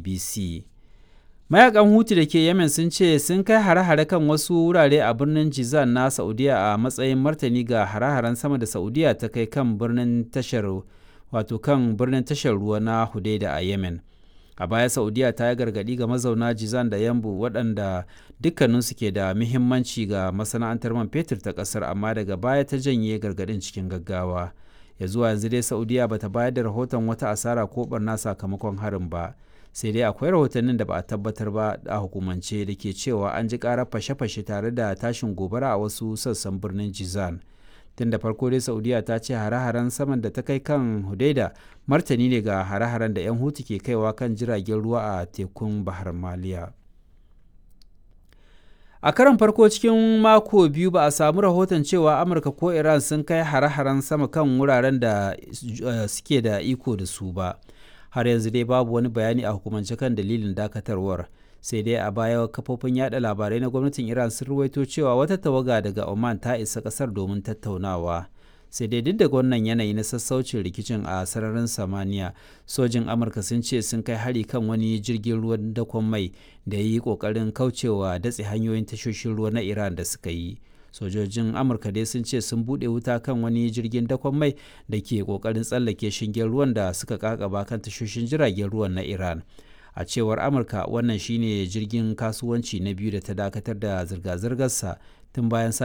BBC. Mayakan Hutu da ke Yemen sun ce sun kai hare-hare kan wasu wurare a birnin Jizan na Saudiya a matsayin martani ga hare-haren sama da Saudiya ta kai kan birnin tashar wato kan birnin tashar ruwa na Hudaida a Yemen. A baya Saudiya ta yi gargaɗi ga mazauna Jizan da Yambu, waɗanda dukkaninsu ke da muhimmanci ga masana'antar man fetur ta ƙasar, amma daga baya ta janye gargaɗin cikin gaggawa. Ya zuwa yanzu dai Saudiya bata bayar da rahoton wata asara ko barna sakamakon harin ba. Sai dai akwai rahotannin da ba a tabbatar ba a hukumance da ke cewa an ji karar fashe-fashe tare da tashin gobara a wasu sassan birnin Jizan. Tun da farko dai Saudiya ta ce hare-haren saman da ta kai kan Hudaida martani ne ga hare-haren da 'yan Hutu ke kaiwa kan jiragen ruwa a tekun Bahar Maliya. A karon farko cikin mako 2 ba a samu rahoton cewa Amurka ko Iran sun kai hare-haren sama kan wuraren da suke da iko da su ba. Har yanzu dai babu wani bayani a hukumance kan dalilin dakatarwar. Sai dai a baya kafofin yada labarai na gwamnatin Iran sun ruwaito cewa wata tawaga daga Oman ta isa kasar domin tattaunawa. Sai dai duk da wannan yanayi na sassaucin rikicin a sararin samaniya, sojin Amurka sun ce sun kai hari kan wani jirgin ruwan dakon mai da ya yi kokarin kaucewa datse hanyoyin tashoshin ruwa na Iran da suka yi. Sojojin Amurka dai sun ce sun buɗe wuta kan wani jirgin dakon mai da ke kokarin tsallake shingen ruwan da suka kakaba kan tashoshin jiragen ruwan na Iran. A cewar Amurka, wannan shine jirgin kasuwanci na biyu da ta dakatar da zirga-zirgarsa tun bayan sake